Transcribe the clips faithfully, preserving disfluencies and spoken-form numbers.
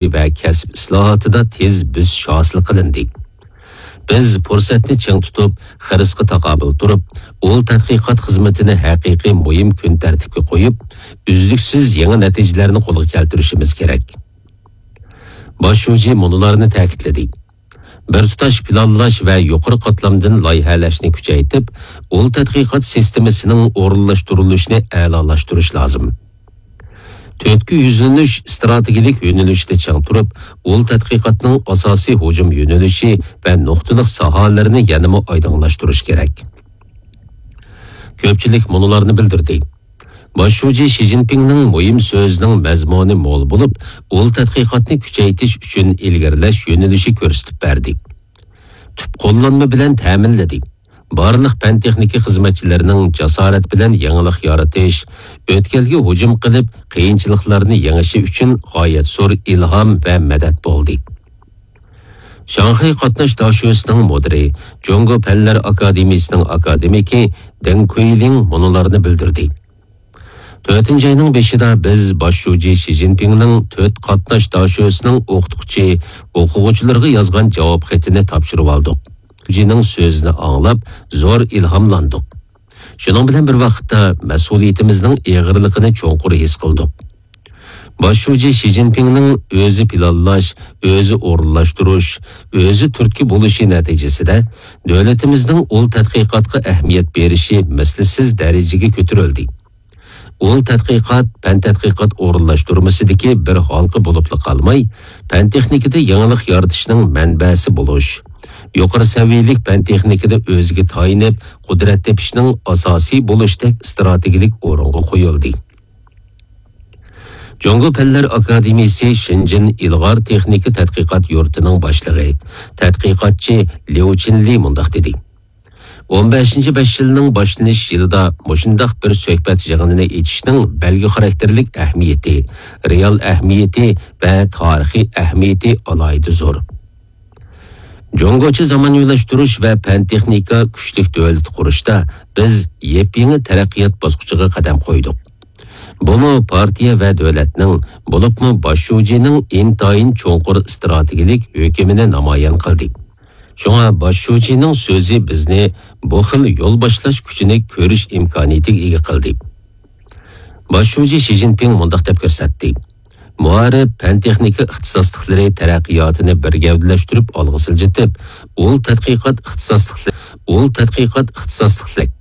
ۋە كەسىپ ئىسلاھاتىدا تېز بۆسۈش ھاسىل قىلىندى. بىز پۇرسەتنى چىڭ تۇتۇپ، خىرىسقا تاقابىل تۇرۇپ، ئۇل تەتقىقات خىزمىتىنى ھەقىقىي مۇھىم كۈن تەرتىپكە قويۇپ، ئۈزلۈكسىز يېڭى نەتىجىلەرنى قولغا كەلتۈرۈشىمىز كېرەك. باش شۇجى مۇنۇلارنى تەكىتلىدى. بىر تۇتاش پىلانلاش ۋە يۇقىرى قاتلامدىن لايىھەلەشنى كۈچەيتىپ، ئۇل تەتقىقات سىستېمىسىنىڭ ئورۇنلاشتۇرۇلۇشىنى ئەلالاشتۇرۇش لازىم. تۆتكە يۈزلىنىش ئىستراتېگىيەلىك يۆنىلىشىدە چىڭ تۇرۇپ، ئۇل تەتقىقاتنىڭ ئاساسىي ھۇجۇم يۆنىلىشى ۋە نۇقتىلىق ساھەلىرىنى يەنىمۇ ئايدىڭلاشتۇرۇش كېرەك. كۆپچىلىك مۇنۇلارنى بىلدۈردى. باش شۇجى شى جىنپىڭنىڭ مۇھىم سۆزىنىڭ مەزمۇنى مول بولۇپ، ئۇل تەتقىقاتنى كۈچەيتىش ئۈچۈن ئىلگىرىلەش يۆنىلىشى كۆرسىتىپ بەردى. تۈپ قوللانما بىلەن تەمىنلىدى. بارلىق پەن-تېخنىكا خىزمەتچىلىرىنىڭ جاسارەت بىلەن يېڭىلىق يارىتىش، ئۆتكەلگە ھۇجۇم قىلىپ، قىيىنچىلىقلارنى يېڭىشى ئۈچۈن غايەت زور ئىلھام ۋە مەدەت بولدى. شاڭخەي قاتناش داشۆسىنىڭ مۇدىرى، جۇڭگو پەنلەر ئاكادېمىيىسىنىڭ ئاكادېمىكى دېڭ كۇيلىڭ مۇنۇلارنى بىلدۈردى. تۆتىنچى ئاينىڭ بېشىدا بىز باش شۇجى شى جىنپىڭنىڭ تۆت قاتناش داشۆسىنىڭ ئوقۇتقۇچى، ئوقۇغۇچىلىرىغا يازغان جاۋاب خېتىنى تاپشۇرۇۋالدۇق. شۇجىنىڭ سۆزىنى ئاڭلاپ، زور ئىلھاملاندۇق. شۇنىڭ بىلەن بىر ۋاقىتتا، مەسئۇلىيىتىمىزنىڭ ئېغىرلىقىنى چوڭقۇر ھېس قىلدۇق. باش شۇجى شى جىنپىڭنىڭ ئۆزى پىلانلاش، ئۆزى ئورۇنلاشتۇرۇش، ئۆزى تۈرتكە بولۇشى نەتىجىسىدە، دۆلىتىمىزنىڭ ئۇل تەتقىقاتقا ئەھمىيەت بېرىشى مىسلىسىز دەرىجىگە كۆتۈرۈلدى. ئۇل تەتقىقات پەن تەتقىقات ئورۇنلاشتۇرمىسىدىكى بىر ھالقا بولۇپلا قالماي، پەن تېخنىكىدا يېڭىلىق يارىتىشنىڭ مەنبەسى بولۇش، يۇقىرى سەۋىيەلىك پەن تېخنىكىدا ئۆزىگە تايىنىپ، قۇدرەت تېپىشنىڭ ئاساسىي بولۇشتەك ئىستراتېگىيەلىك ئورۇنغا قويۇلدى. جۇڭگو پەنلەر ئاكادېمىيىسى شېنجېن ئىلغار تېخنىكا تەتقىقات يۇرتىنىڭ باشلىقى، تەتقىقاتچى ليۇ چىنلى مۇنداق دېدى: ئون بەشىنچى بەش يىلنىڭ باشلىنىش يىلىدا مۇشۇنداق بىر سۆھبەت يىغىنىنى ئېچىشنىڭ بەلگە خاراكتېرلىك ئەھمىيىتى، رېئال ئەھمىيىتى ۋە تارىخىي ئەھمىيىتى ئالاھىدە زور. جۇڭگوچە زامانىۋىلاشتۇرۇش ۋە پەن-تېخنىكا كۈچلۈك دۆلىتى قۇرۇشتا بىز يېپيېڭى تەرەققىيات باسقۇچىغا قەدەم قويدۇق. بۇمۇ پارتىيە ۋە دۆلەتنىڭ، بولۇپمۇ باش شۇجىنىڭ ئىنتايىن چوڭقۇر ئىستراتېگىيەلىك ھۆكمىنى نامايان قىلدى. شۇڭا باش شۇجىنىڭ سۆزى بىزنى بۇ خىل يول باشلاش كۈچىنى كۆرۈش ئىمكانىيىتىگە ئىگە قىلدى. باش شۇجى شى جىنپىڭ مۇنداق دەپ كۆرسەتتى: مائارىپ، پەن-تېخنىكا ئىختىساسلىقلىرى تەرەققىياتىنى بىر گەۋدىلەشتۈرۈپ ئالغا سىلجىتىپ، ئۇل تەتقىقات ئىختىساسلىقلىرى، ئۇل تەتقىقات ئىختىساسلىقلىرى،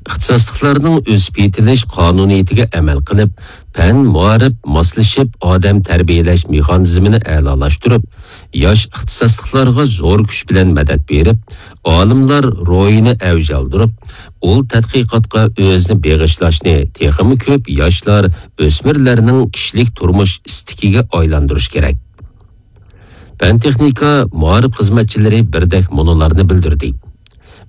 ئىختىساسلىقلارنىڭ ئۆسۈپ يېتىلىش قانۇنىيىتىگە ئەمەل قىلىپ، پەن، مائارىپ ماسلىشىپ ئادەم تەربىيەلەش مېخانىزمىنى ئەلالاشتۇرۇپ، ياش ئىختىساسلىقلارغا زور كۈچ بىلەن مەدەت بېرىپ، ئالىملار روھىنى ئەۋج ئالدۇرۇپ، ئۇل تەتقىقاتقا ئۆزىنى بېغىشلاشنى تېخىمۇ كۆپ ياشلار، ئۆسمۈرلەرنىڭ كىشىلىك تۇرمۇش ئىستىكىگە ئايلاندۇرۇش كېرەك. پەن-تېخنىكا، مائارىپ خىزمەتچىلىرى بىردەك مۇنۇلارنى بىلدۈردى: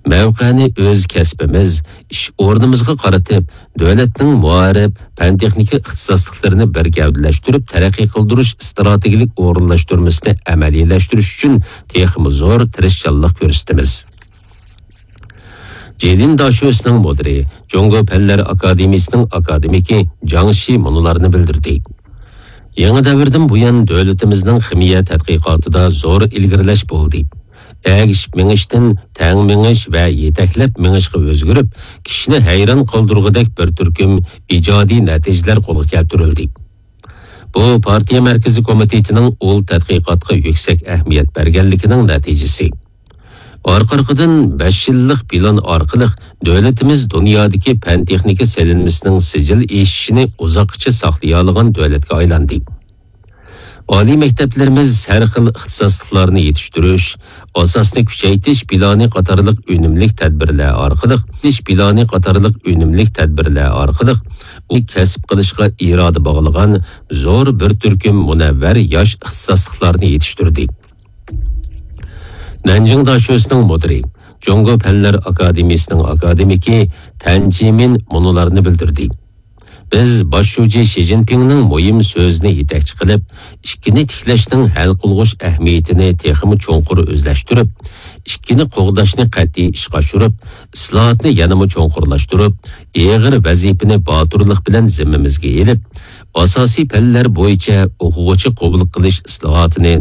مەۋقەنى ئۆز كەسپىمىز، ئىش ئورنىمىزغا قارىتىپ، دۆلەتنىڭ مائارىپ، پەن-تېخنىكا ئىختىساسلىقلىرىنى بىر گەۋدىلەشتۈرۈپ تەرەققىي قىلدۇرۇش ئىستراتېگىيەلىك ئورۇنلاشتۇرمىسىنى ئەمەلىيلەشتۈرۈش ئۈچۈن تېخىمۇ زور تىرىشچانلىق كۆرسىتىمىز. جېلىن داشۆسىنىڭ مۇدىرى، جۇڭگو پەنلەر ئاكادېمىيىسىنىڭ ئاكادېمىكى جاڭ شى مۇنۇلارنى بىلدۈردى: يېڭى دەۋردىن بۇيان، دۆلىتىمىزنىڭ خىمىيە تەتقىقاتىدا زور ئىلگىرىلەش بولدى. ئەگىشىپ مېڭىشتىن تەڭ مېڭىش ۋە يېتەكلەپ مېڭىشقا ئۆزگىرىپ، كىشىنى ھەيران قالدۇرغۇدەك بىر تۈركۈم ئىجادىي نەتىجىلەر قولغا كەلتۈرۈلدى. بۇ پارتىيە مەركىزىي كومىتېتىنىڭ ئۇل تەتقىقاتقا يۈكسەك ئەھمىيەت بەرگەنلىكىنىڭ نەتىجىسى. ئارقا-ئارقىدىن بەش يىللىق پىلان ئارقىلىق دۆلىتىمىز دۇنيادىكى پەن-تېخنىكا سېلىنمىسىنىڭ سىجىل ئېشىشىنى ئۇزاققىچە ساقلىيالىغان دۆلەتكە ئايلاندى. ئالىي مەكتەپلىرىمىز ھەر خىل ئىختىساسلىقلارنى يېتىشتۈرۈش، ئاساسنى كۈچەيتىش پىلانى قاتارلىق ئۈنۈملۈك تەدبىرلەر ئارقىلىق، پىلانى قاتارلىق ئۈنۈملۈك تەدبىرلەر ئارقىلىق ئۇ كەسىپ قىلىشقا ئىرادە باغلىغان زور بىر تۈركۈم مۇنەۋۋەر ياش ئىختىساسلىقلارنى يېتىشتۈردى. نەنجىڭ داشۆسىنىڭ مۇدىرى، جۇڭگو پەنلەر ئاكادېمىيىسىنىڭ ئاكادېمىكى تەن جىمىن مۇنۇلارنى بىلدۈردى: بىز باش شۇجى شى جىنپىڭنىڭ مۇھىم سۆزىنى يېتەكچى قىلىپ، ئىككىنى تىكلەشنىڭ ھەل قىلغۇچ ئەھمىيىتىنى تېخىمۇ چوڭقۇر ئۆزلەشتۈرۈپ، ئىككىنى قوغداشنى قەتئىي ئىشقا ئاشۇرۇپ، ئىسلاھاتنى يەنىمۇ چوڭقۇرلاشتۇرۇپ، ئېغىر ۋەزىپىنى باتۇرلۇق بىلەن زىممىمىزگە ئېلىپ، ئاساسىي پەنلەر بويىچە ئوقۇغۇچى قوبۇل قىلىش ئىسلاھاتىنى